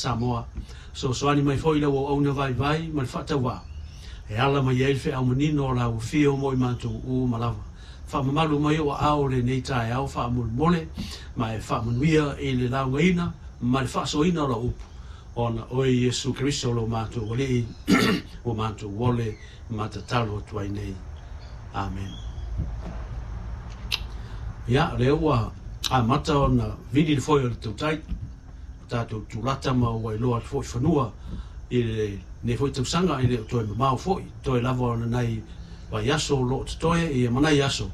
Samoa. Fesoasoani mai foi i lau auauna vaivai ma le faatauvaa e ala mai ai le feau manino o lau afio mo i matou uma lava. Faamamalu mai ou aao i lenei taeao faamolemole ma e faamanuia i le laugaina ma le faasoaina o lau upu, ona oe Iesu Keriso lo matou Alii ua matou ole ma tatalo atu ai nei. Amen. Ia, lea ua amata ona vili le foe o le tautai, tatou tulata ma ua iloa atu foi fanua i lenei foi tausaga, e le o toe mamao foi, toe lava ona nai vaiaso o lo o totoe ia ma nai aso,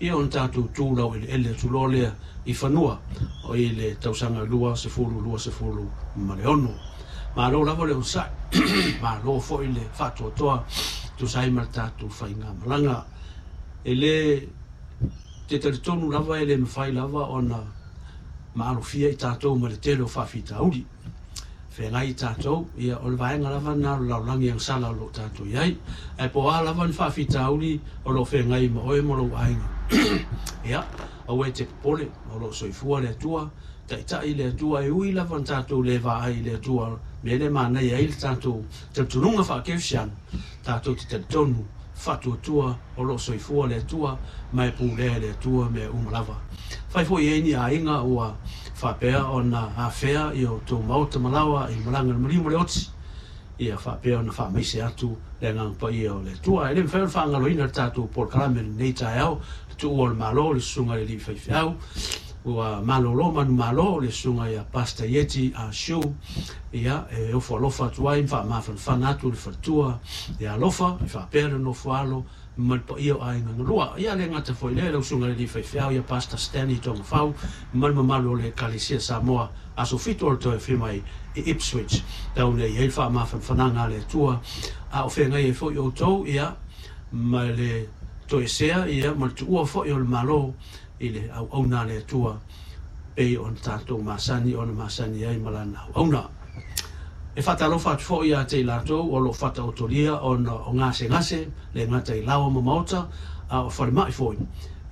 ia ona tatou tu laueleele atu loa lea i fanua i le tausaga 2026. Malo lava le onosai, malo foi le faatoatoa tusa ai ma le tatou faigamalaga. E le te talitonu lava e le mafai lava ona maalofia i tatou ma le tele o faafitauli feagai i tatou, ia o le vaega lava lena o le lalolagi agasala o lo o tatou i ai. Ae po o a lava ni faafitauli o lo o feagai ma oe ma lou aiga, ia, aua e te popole, o lo o soifua le Atua, taitai le Atua, e ui lava na tatou le vaai i le Atua, mea lea e manaia ai le tatou talitonuga faakerisiano, tatou te talitonu faatuatua o lo o soifua le Atua ma e pulea e le Atua mea uma lava. Fai foi i ai ni aiga ua faapea ona afea i o outou maota ma laoa i malaga le maliu ma le oti, ia faapea ona faamaise atu le agaga paia o le Atua. E le mafai ona faagaloina le tatou polokalame i lenei taeao, le tuua o le Malo, le susuga i le alii faifeau, ua malolo manumalo le susuga ia Pastor Ieti Ah Shu, ia e ofo alofa atu ai ma faamafanafana atu le faletua ia alofa, e faapea le nofo alo ma le paia o aiga galua. Ia le gata foi lea, lau susuga i le alii faifeau ia Pastor Stanley Togafau ma le mamalu o le Ekalesia Samoa, aso 7 o le toe afio mai i Ipswich, tau nei i ai le faamafanafanaga a le Atua, a o feagai ai foi outou ia ma le toesea ia ma le tuua foi o le Malo i le auauna a le Atua, pei ona tatou masani ona masani ai ma lana auauna. E faatalofa atu foi ia te i latou o lo o faataotolia ona o gasegase, le gata i laoa ma maota, a o falemai foi,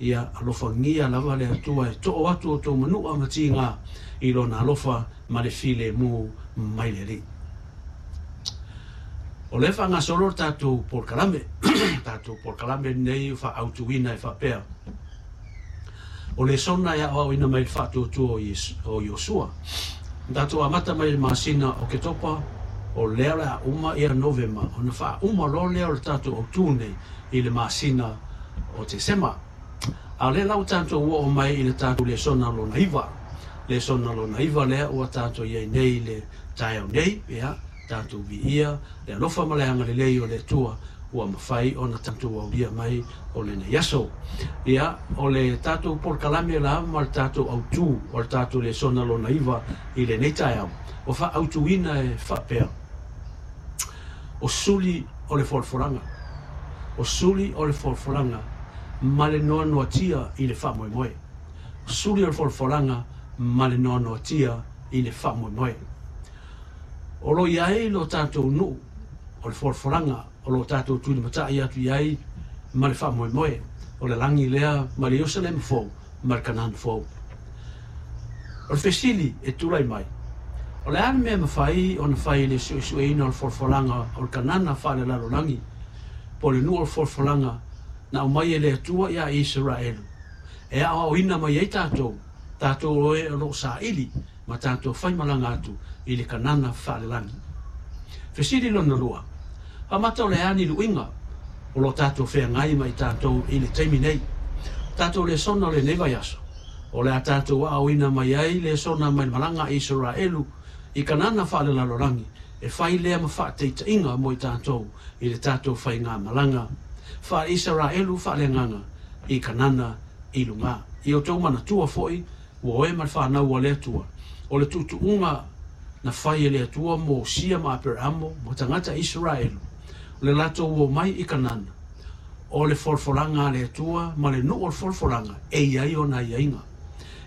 ia alofagia lava le Atua e too atu outou manua ma tiga i lona alofa ma le filemu mai le Alii. O lea e faagasolo le tatou polokalame, tatou polokalame lenei faaautuina e faapea, o lesona e aoaoina mai le faatuatua o Iosua. Na tatou amata mai le masina o Oketopa, o lea o le a uma ia Novema, ona faauma loa lea o le tatou autū nei i le masina o Tesema. A o lea la ua tatou oo mai i le tatou lesona lona 9. Lesona lona 9 lea ua tatou i ai nei i le taeao nei, ia, tatou viia le alofa ma le agalelei o le Atua ua mafai ona tatou aulia mai o lenei aso. Ia, o le tatou polokalame la ma le tatou autū o le tatou lesona lona 9 i lenei taeao, ua faaautuina e faapea, o suli o le folafolaga, o suli o le folafolaga ma le noanoatia i le faamoemoe. O suli o le folafolaga ma le noanoatia i le faamoemoe. O lo o i ai lo tatou nuu o le folafolaga o lo o tatou tulimatai atu i ai ma le faamoemoe, o le lagi lea ma le Ierusalema fou ma le Kanana fou. O le fesili e tulai mai, o le a le mea e mafai ona fai i le suesueina o le folafolaga o le Kanana faalelalolagi, po o le nuu o le folafolaga na aumai e le Atua ia Isaraelu, e aoaoina mai ai tatou, tatou o e o lo o saili ma tatou faimalaga atu i le Kanana faalelagi? Fesili lona lua, faamata o le a ni luiga o lo o tatou feagai ma i tatou i le taimi nei? Tatou lesona o lenei vaiaso, o le a tatou aoaoina mai ai lesona mai le malaga a Isaraelu i Kanana faalelalolagi, e fai lea ma faataitaiga mo i tatou i le tatou faigamalaga faale-Isaraelu faaleagaga i Kanana i luga. I outou manatua foi ua oe ma le fanau a le Atua, o le tuutuuga na fai e le Atua mo Sia ma Aperamo ma tagata Isaraelu, o le latou omai i Kanana, o le folafolaga a le Atua ma le nuu o le folafolaga e i ai ona aiaiga.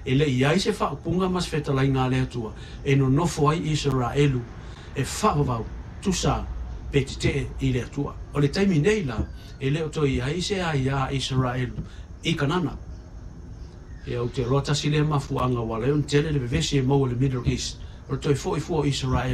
E le i ai se faaupuga ma se fetalaiga a le Atua e nonofo ai Isaraelu e faavavau, tusa pe tetee i le Atua. O le taimi nei la, e le o toe i ai se aia a Isaraelu i Kanana. Ia, ou te iloa tasi lea mafuaaga ua ala ai ona tele le vevesi e maua i le Middle East, o le toe foi fua o Isaraelu.